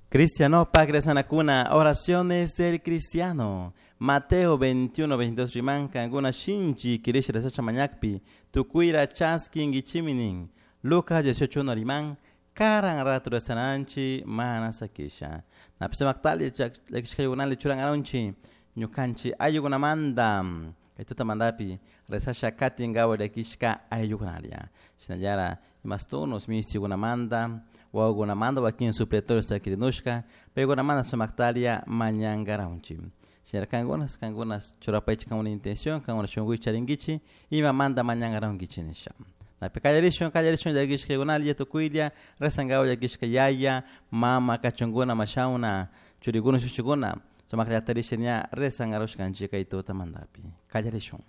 Cristianopak rezanakuna, oraciones del cristiano. Mateo 21, 22 riman, kankuna shinchi kirisha rezasha mañakpi, tukuyra chaskinkichimi nin. Lucas 18, 1 riman, karan rato rezananchi mana sakisha. Napi sumaktali llakishkaykunali churangarunchi, ñukanchi ayllukunamanta, kay tutamantapi rezasha katinkawa llakishka ayllukunalla. Shinallara imastunos mishtikunamanta, wawakunamanta wakin supletorios chakirinushka, paykunamanta sumaktalia mañankaranchik. Shinallara kankunas, kankunas churapaychik kankuna intención, kankuna shunkuy charinkichik, imamanta mañankarankichik nisha. Napi kallarishun, kallarishun llakishkaykunalla tukuylla rezankawa llakishka yaya, mama, kachunkuna, mashawna, churikuna, shushukuna, sumakllata risha ña rezankarushkanchik kay tutamantapi. Kallarishun.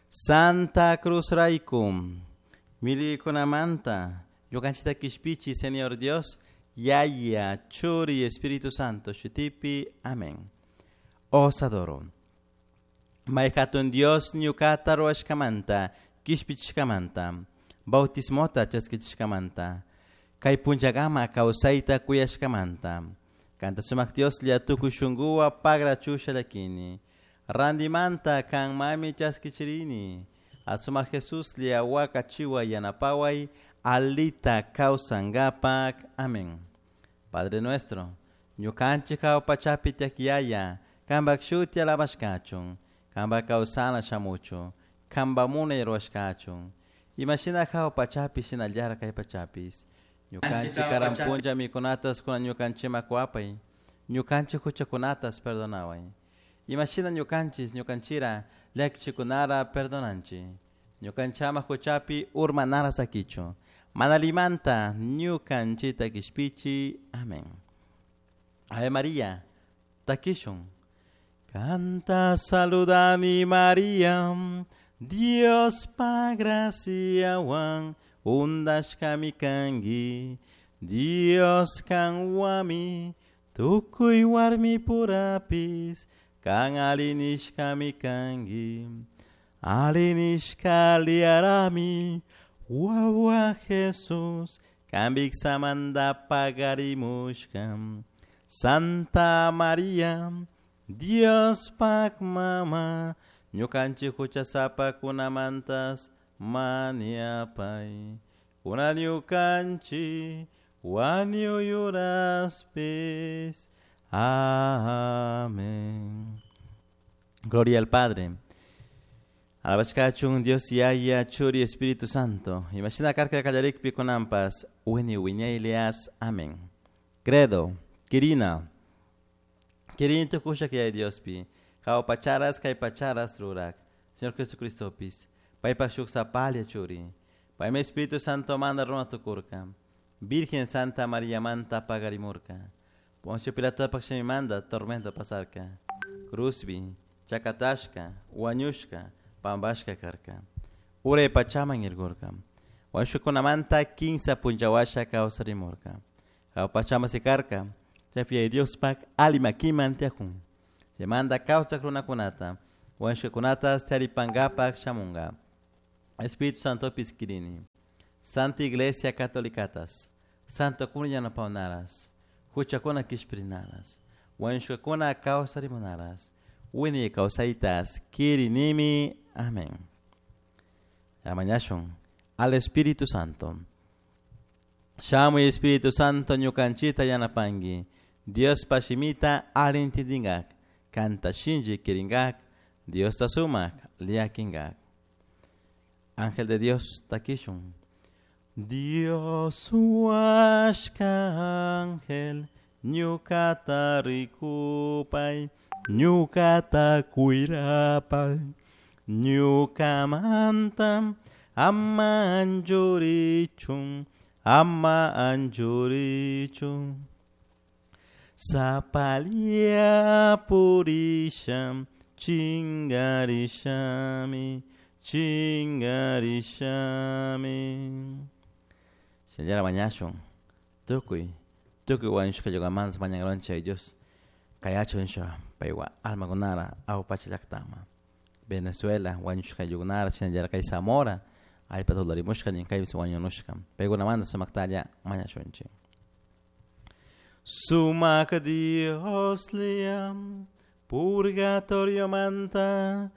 Santa Cruz rayku, milikunamanta, ñukanchikta kishpichi, Señor Dios, Yaya, Churi, Espíritu Santo, shutipi, amén. Os adoro. May hatun Dios ñukata ruwashkamanta, kishpichishkamanta, bautismota chaskichishkamanta, kay punllakama kawsayta kuyashkamanta, kanta sumak Dioslla tukuy shunkuwa pagrachusha llakini, randimanta kan mami chaskichirini, asumak Jesuslla wakachiwa yanapaway, alita kawsankapak. Amén. Padre nuestro, ñukanchik hawa pachapi tiyak Yaya, kanpak shuti alabashkachun, kanpak kawsana shamuchun, kanpak munay ruwashkachun, imashina hawa pachapi shinallara kay pachapis, ñukanchik karan punlla mikunatas kunan ñukanchikman kuwapay, ñukanchik huchakunatas perdonaway, imashina ñukanchis ñukanchira llakichikunara perdonanchik, ñukanchama huchapi urmanara sakichun, mana allimanta ñukanchikta kishpichi. Amén. Ave María, takishun. Kanta saludani María, Dios pa graciawan undashkami kanki, Dios kanwami, tukuy warmi purapis, kan alinishkami kanki, alinishka liarami, wawa Jesus, kanpik samanta pagarimushka, Santa María, Dios pak mama, ñukanchik huchasapakunamantas mañapay, kunan ñukanchik wañuyuraspis. Amén. Gloria al Padre. Alabashkachun Dios Yaya, Churi, Espíritu Santo. Imashina karka kallarikpi kunampas, wini wiñaylias. Amén. Credo, Kirina. Kirin tukusha kay Diospi. Hawa pacharas kay pacharas rurak. Señor Jesucristopis. Paypak shuk sapalia churi. Paymi Espíritu Santo manda runa tukurka. Virgen Santa María manta pagarimurka. Poncio Pilato manda tormento pasarka. Cruzbi, chakatashka, wañushka, pambashka karka. Uray pachaman irgurka. Wañushkakunamanta kinsa punllawasha kawsarimurka. Hawa pachama sikarka. Chaypi Diospak alli makiman tiyakun. Chaymanta kawsak runakunata, wañushkakunata taripankapak shamunka. Espíritu Santopis kirini. Santa Iglesia Catolicatas, Santo kuna yanapawnaras, huchakuna kishpirinaras, wañushkakuna kawsarimunaras, wiñay kawsaytas kirinimi. Amén. Amañashun al Espíritu Santo. Shamuy Espíritu Santo ñukanchita yanapanki, Dios pashimita alintindingak, kanta shinchi kiringak, Dios ta sumak llakingak. Ángel de Dios takishun. Dios huashka ángel, ñukata rikupay, ñukata kuyrapay, ñukamanta ama anchurichun, ama anchurichun. Sapalia purisha, chingarishami, chingarishami. Señora mañashun, tukuy, tukuy wañushka llukamanta mañankaronchik Dios, kayachu nisha paywa almakunara awpacha llaktama. Venezuela wañushka llukunara shinallara kay Zamora allpa tularimushka nin kaypi wañunushka paykunamanta sumaktalla mañashunchik. Sumac Dioslla, purgatoriomanta.